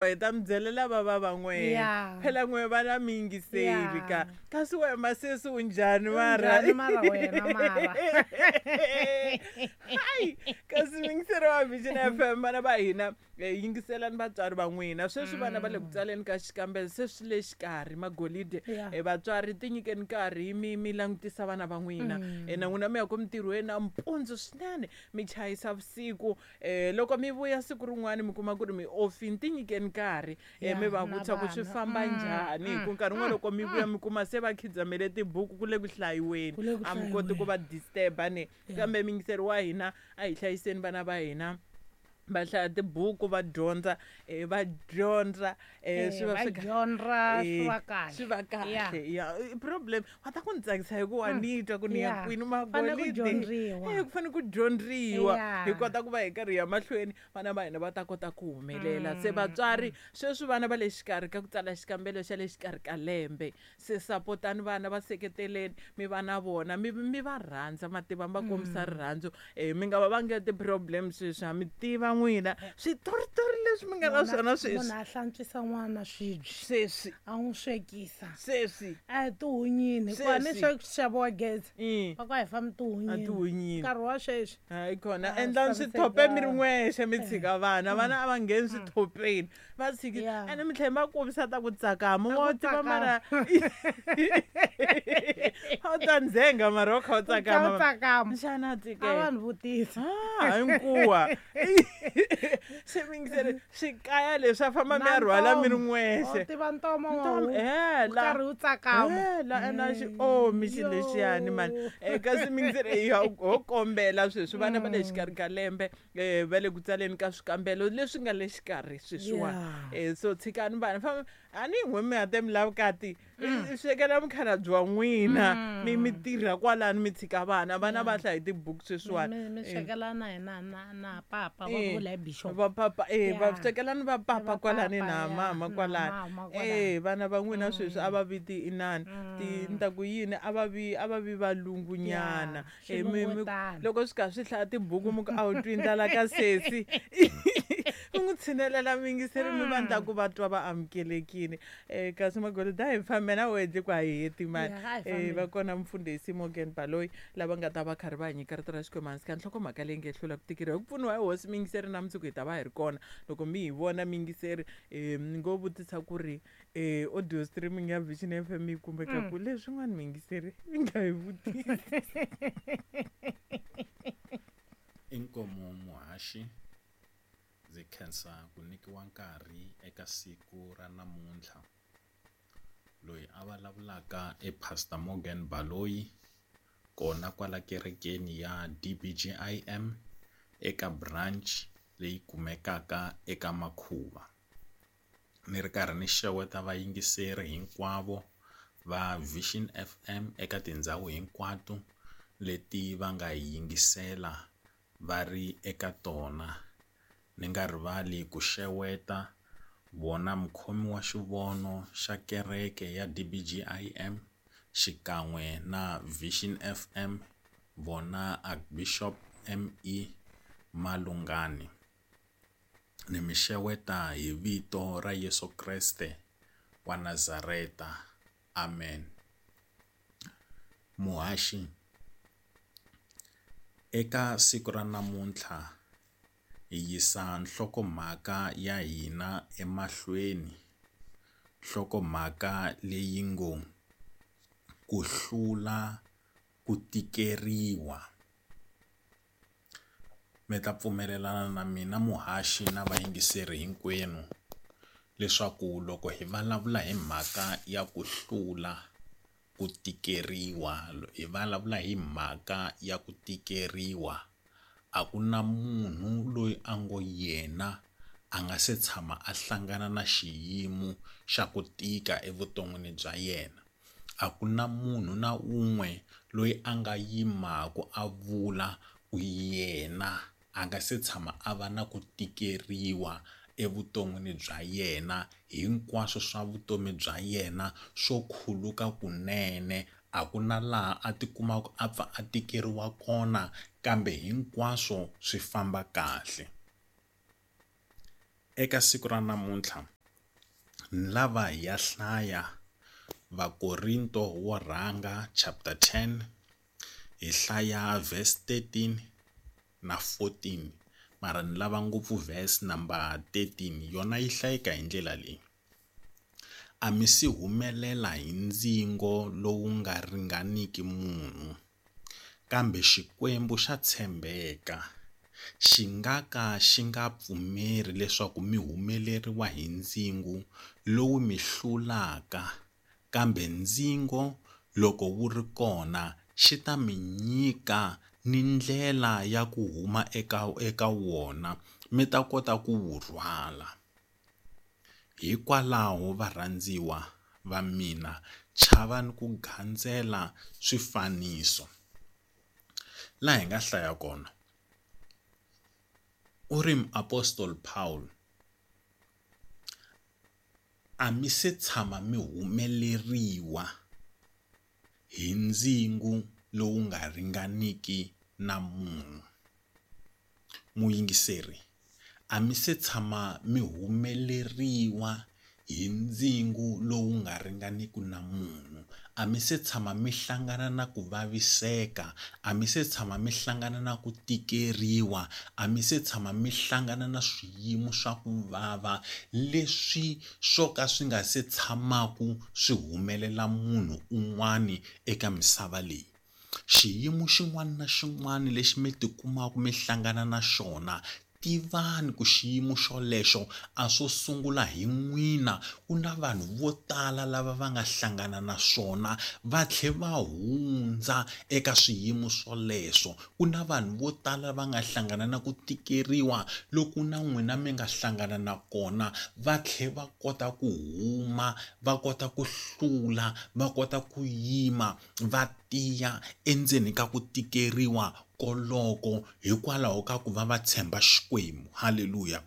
Hi ta mi byelela va va va n'wehe Yeah. phela n'we vana mi yingiseli Yeah. ka kasi we masesi u njhani mara Unjhani mara wena mara? Hayi, kasi muyingiseri wa Vision FM vana va hina yingiselani vatswari va n'wina sweswi vana va le ku tsaleni ka xikambelo se swi le xikarhi magolide. Yeah. Vatswari ti nyikeni nkarhi mi langutisa vana va n'wina. Na n'wina mi ya ku mintirhweni nampundzu swinene mi chayisa vusiku loko mi vuya siku rin'wana mi kuma ku ri mi offini ti nyikeni nkarhi mi va Yeah, na vutisa ku swi vana. famba njhani hi ku nkarhi wun'wana loko mi vuya mi kuma se va khidzamele tibuku ku le ku hlayiweni Ku le ku a mi koti ku hlayiweni. va disturb-a ne Yeah. kambe muyingiseri wa hina a hi hlayiseni vana va hina va hlaya tibuku va dyondza va dyondza swi va Va swi dyondza swi va kahle. swi va kahle Yeah. ya i problem va ta ku ni tsakisa hi ku wa ni twa ku ni ya Yeah. kwini Fane ku magolide dyondziwa. ku fanele ku dyondziwa Yeah. hi kota ku va hi karhi hi ya mahlweni vana va hina va ta kota ku humelela se vatswari sweswi vana va le xikarhi ka ku tsala xikambelo xa le xikarhi ka lembe se sapotani vana va seketeleni mi va na vona mi va rhandza mativa mi va kombisa rirhandzu mi nga va vangeli ti-problem sweswi ha mi tiva n'wina switoritori leswi mi nga na swona sweswi Munhu a hlantswisa n'wana swibye sweswi a n'wi swekisa sweswi a hi tihunyini hikuva ni Sweswi. swa xaviwa gezi va ku a hi fambi A tihunyini tihunyini. nkarhi wa sweswi Hayi kona Ah, endlani swi swithope mi ri tshamisekanga. n'wexe mi tshika vana vana a va ngheni swithopeni va tshiki Yeah. ene mi tlhela mi va kombisa ta ku tsakama Ta wa ku tiva tsakama. mara a wu ta ndzhenga mara wa kha u U kha u tsakama tsakama xana a tikela vanhu vutisa Ah, hinkuwa se mingisele swikaya leswi a famba mi ya Na rhwala mi ri ntomo. n'wexe U tiva ntomo wa Ntomo, huku, hela. u karhi u tsakama Hela, ene a xi omi xilo lexiyani mani kasi mingisele ho kombela sweswi vana va le xikarhi ka lembe va le ku tsaleni ka swikambelo leswi nga le xikarhi sweswiwani. Yeah. So tshikani vana famba a ni n'we mi hate mi lava vukati swekela mukhalabye wa n'wina mi tirha kwalano mi tshika vana vana va hlaya hi tibuku sweswiwani. Mi swekela na hina na papa va vula hi bishop. Va papa va Yeah. swekelani va papa Va kwalani papa, na yeah, mama na kwalani mama kwalani. vana va n'wina sweswi a va viti inani ti ni ta ku yini a va vi a va vi valungu nyana. Yeah, xilungutana. Loko swi kha swi hlaya tibuku mi ku a wu twi ndlala ka sesi mi n'wi tshinelela muyingiseri mi va ndla ku va twa va amukelekile kasi magolide a hi fambe na wehe ku a hi heti mani. Yeah, a hi fambeni. Va kona mufundhisi Morgan Baloyi lava nga ta va karhi va hi nyika rito ra Xikwembu hansi ka nhlokomhaka leyi nge hlula ku tikeriwa hi ku pfuniwa hi hosi muyingiseri na mundzuku hi ta va hi ri kona loko mi hi vona muyingiseri ni ngo vutisa ku ri audio streaming ya Vision FM yi kumeka ku leswin'wana muyingiseri mi nga hi vutisi. Inkomu muhaxi ndzi khensa ku nyikiwa nkarhi eka siku ra namuntlha. Loyi a vulavulaka i Pastor Morgan Baloyi kona kwala kerekeni ya DBGIM eka branch leyi kumekaka eka Makhuva. Ni ri karhi ni xeweta vayingiseri hinkwavo va Vision FM eka tindhawu hinkwato leti va nga hi yingisela va ri eka tona. Ni nga rivali ku xeweta vona mukhomi wa xivono xa kereke ya DBGIM xikan'we na Vision FM vona Archbishop ME Malungani. Ni mi xeweta hi vito ra Yesu Kreste wa Nazareta. Amen. Muhaxi eka siku ra namuntlha hi yisa nhlokomhaka ya hina emahlweni nhlokomhaka leyi ngo ku hlula ku tikeriwa. Mi ta pfumelelana na mina muhaxi na vayingiseri hinkwenu leswaku loko hi vulavula hi mhaka ya ku hlula ku tikeriwa hi vulavula hi mhaka ya ku tikeriwa a ku na munhu loyi a ngo yena a nga se tshama a hlangana na xiyimo xa ku tika evuton'wini bya yena. A ku na munhu na un'we loyi a nga yimaka a vula ku yena a nga se tshama a va na ku tikeriwa evuton'wini bya yena hinkwaswo swa vutomi bya yena swo khuluka kunene a ku na laha a tikumaka a pfa a tikeriwa kona kambe hinkwaswo swi famba kahle. Eka siku ra namuntlha ni lava hi ya hlaya Vakorinto wo rhanga chapter 10 hi hlaya verse 13 na 14 mara ni lava ngopfu verse number 13 yona yi hlayeka hi ndlela leyi a mi si humelela hi ndzingo lowu nga ringaniki munhu kambe Xikwembu xa tshembeka xi nga ka xi nga pfumeri leswaku mi humeleriwa hi ndzingo lowu mi hlulaka kambe ndzingo loko wu ri kona xi ta mi nyika ni ndlela ya ku huma eka eka wona mi ta kota ku wu rhwala hikwalaho varhandziwa va mina chavani ku gandzela swifaniso laha hi nga hlaya kona u ri muapostoli Paul a mi se tshama mi humeleriwa hi ndzingo lowu nga ringaniki na munhu muyingiseri a mi se tshama mi humeleriwa hi ndzingo lowu nga ringaniki na munhu a mi se tshama mi hlangana na ku vaviseka a mi se tshama mi hlangana na ku tikeriwa a mi se tshama mi hlangana na swiyimo swa ku vava leswi swo ka swi nga se tshamaku swi humelela munhu un'wani eka misava leyi xiyimo xin'wana na xin'wana lexi mi tikumaka mi hlangana na xona tivani ku xiyimo xolexo a swo sungula hi n'wina ku na vanhu vo tala lava va nga hlangana na swona va tlhe va hundza eka swiyimo swoleswo ku na vanhu vo tala va nga hlangana na ku tikeriwa loku na n'wina mi nga hlangana na kona va tlhe va kota ku huma va kota ku hlula va kota ku yima va tiya endzeni ka ku tikeriwa koloko hikwalaho ka ku va va tshemba Xikwembu halleluya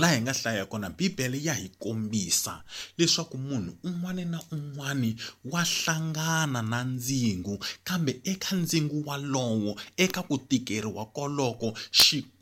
laha hi nga hlaya kona bibele ya hi kombisa leswaku munhu un'wana na un'wana wa hlangana na ndzingo kambe eka ndzingo walowo eka ku tikeriwa koloko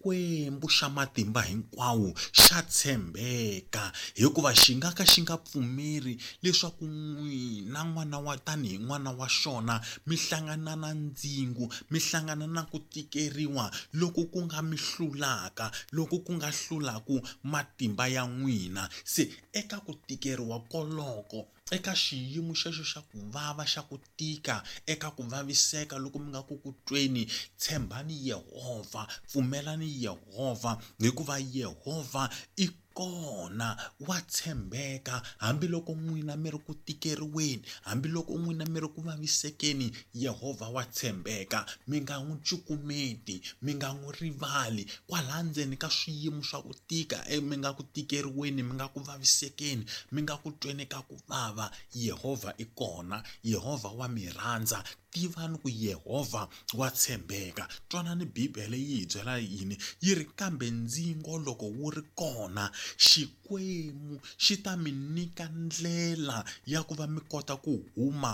Xikwembu xa matimba hinkwawo xa tshembeka hikuva xi nga ka xi nga pfumeri leswaku n'wina n'wana wa tanihi n'wana wa xona mi hlangana na ndzingo mi hlangana na ku tikeriwa loko ku nga mi hlulaka loko ku nga hlulaku matimba ya n'wina se eka ku tikeriwa koloko eka xiyimo xexo xa ku vava xa ku tika eka ku vaviseka loko mi nga ku ku tweni tshembani Yehovha pfumelani Yehovha hikuva Yehovha i kona wa tshembeka hambiloko n'wina mi ri ku tikeriweni hambiloko n'wina mi ri ku vavisekeni Yehovha wa tshembeka mi nga n'wi cukumeti mi nga n'wi rivali kwalaha ndzeni ka swiyimo swa ku tika mi nga ku tikeriweni mi nga ku vavisekeni mi nga ku tweni ka ku vava Yehovha i kona Yehovha wa mi rhandza tivani ku Yehovha wa tshembeka twanani Bibele yi hi byela yini yi ri kambe ndzingo loko wu ri kona Xikwembu xi ta mi nyika ndlela ya ku va mi kota ku huma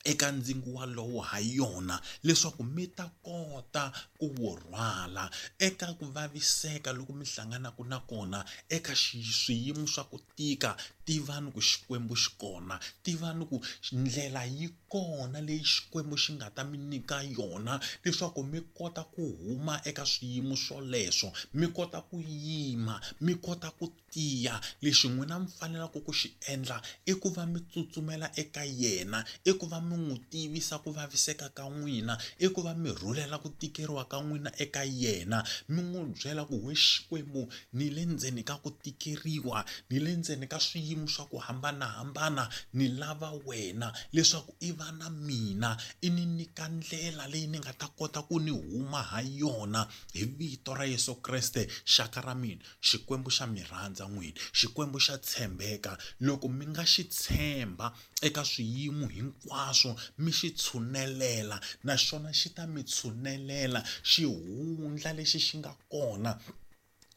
eka ndzingo walowo ha yona leswaku mi ta kota ku wu rhwala eka ku vaviseka loko mi hlanganaka na kona eka swiyimo swa ku tika tivani ku Xikwembu xi kona tivani ku ndlela yi kona leyi Xikwembu xi nga ta mi nyika yona leswaku mi kota ku huma eka swiyimo swoleswo mi kota ku yima mi kota ku tiya lexi n'wina mi faneleke ku xi endla i ku va mi tsutsumela eka yena i ku va mi n'wi tivisa ku vaviseka ka n'wina i ku va mi rhulela ku tikeriwa ka n'wina eka yena mi n'wi byela ku we Xikwembu ni le ndzeni ka ku tikeriwa ni le ndzeni ka swiyimo swa ku hambanahambana ni lava wena leswaku i va na mina i ni nyika ndlela leyi ni nga ta kota ku ni huma ha yona hi vito ra Yesu Kreste xaka ra mina Xikwembu xa mi rhandza n'wina Xikwembu xa tshembeka loko mi nga xi tshemba eka swiyimo hinkwaswo mi xi tshunelela naxona xi ta mi tshunelela xihundla lexi xi nga kona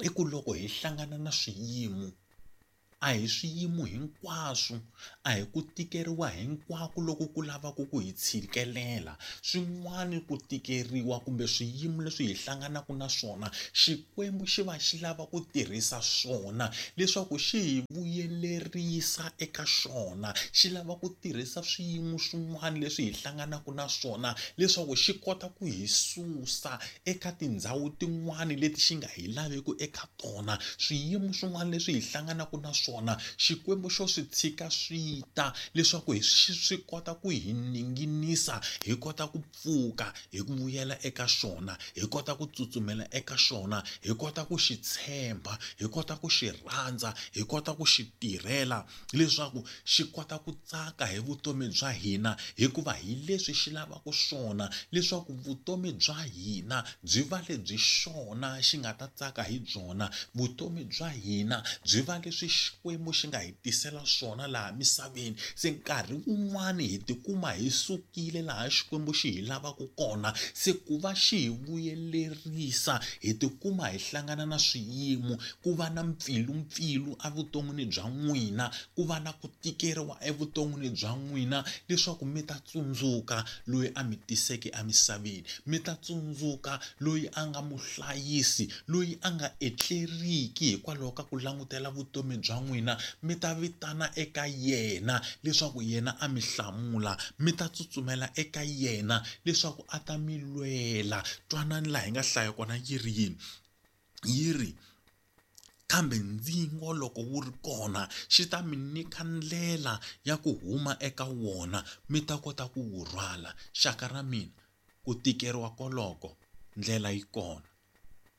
i ku loko hi hlangana na swiyimo. A hi swiyimo hinkwaswo, a hi ku tikeriwa hinkwako loko ku lavaka ku hi tshikelela. Swin'wana ku tikeriwa kumbe swiyimo leswi hi hlanganaka na swona, Xikwembu xi va xi lava ku tirhisa swona leswaku xi hi vuyelerisa eka xona. Xi lava ku tirhisa swiyimo swin'wana leswi hi hlanganaka na swona leswaku xi kota ku hi susa eka tindhawu tin'wana leti xi nga hi laveki eka tona. Swiyimo swin'wana leswi hi hlanganaka na swona Xikwembu xo swi tshika swi ta leswaku hi swi kota ku hi ninginisa hi kota ku pfuka hi ku vuyela eka xona, hi kota ku tsutsumela eka xona, hi kota ku xi tshemba, hi kota ku xi rhandza, hi kota ku xi tirhela leswaku xi kota ku tsaka hi vutomi bya hina hikuva hi leswi xi lavaka swona leswaku vutomi bya hina byi va lebyi xona xi nga ta tsaka hi byona, vutomi bya hina byi va leswi Xikwembu xi nga hi tisela swona laha misaveni. Se nkarhi wun'wani hi tikuma hi sukile laha Xikwembu xi hi lavaka kona, se ku va xi hi vuyelerisa hi tikuma hi hlangana na swiyimo, ku va na mpfilumpfilu evuton'wini bya n'wina, ku va na ku tikeriwa evuton'wini bya n'wina leswaku mi ta tsundzuka loyi a mi tiseke emisaveni, mi ta tsundzuka loyi a nga muhlayisi, loyi a nga etleriki hikwalaho ka ku langutela vutomi bya n'wina, mi ta vitana eka yena leswaku yena a mi hlamula, mi ta tsutsumela eka yena leswaku a ta mi lwela. Twanani laha hi nga hlaya kona yi ri yini, yi ri. Kambe ndzingo loko wu ri kona xi ta mi nyika ndlela ya ku huma eka wona mi ta kota ku wu rhwala. Xaka ra mina, ku tikeriwa koloko ndlela yi kona.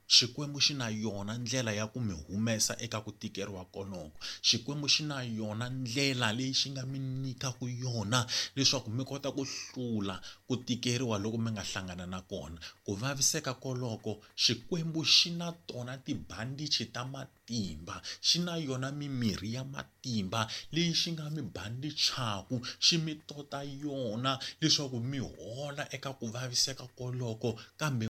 Xikwembu xi na yona ndlela ya ku mi humesa eka ku tikeriwa koloko. Xikwembu xi na yona ndlela leyi xi nga mi nyikaka yona leswaku mi kota ku hlula ku tikeriwa loku mi nga hlangana na kona. Ku vaviseka koloko Xikwembu xi na tona tibandichi ta matimba, xi na yona mimirhi ya matimba leyi xi nga mi bandichaku, xi mi tota yona leswaku mi hola eka ku vaviseka koloko kambe.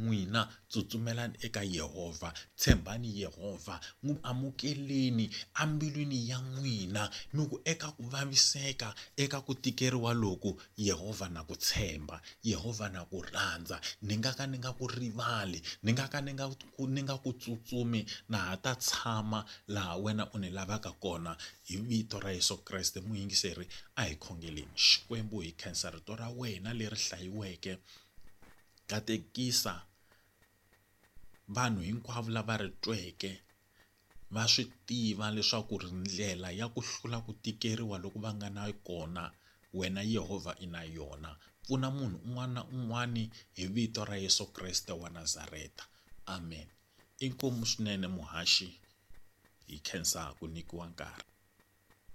N'wina tsutsumelani eka Yehovha, tshembani Yehovha, n'wi amukeleni embilwini ya n'wina, mi ku eka ku vaviseka, eka ku tikeriwa loku, Yehovha na ku tshemba, Yehovha na ku rhandza, ni nga ka ni nga ku rivali, ni nga ka ni nga ni nga ku tsutsumi, na ha ta tshama laha wena u ni lavaka kona. Hi vito ra Yesu Kreste, muyingiseri, a hi khongeleni. Xikwembu, hi khensa rito ra wena leri hlayiweke. Katekisa vanhu hinkwavo lava ri tweke va swi tiva leswaku ri ndlela ya ku hlula ku tikeriwa loku va nga na kona wena Yehovha i na yona. Pfuna munhu un'wana na un'wana hi vito ra Yesu Kreste wa Nazareta. Amen. Inkomu swinene muhaxi hi khensa ku nyikiwa nkarhi.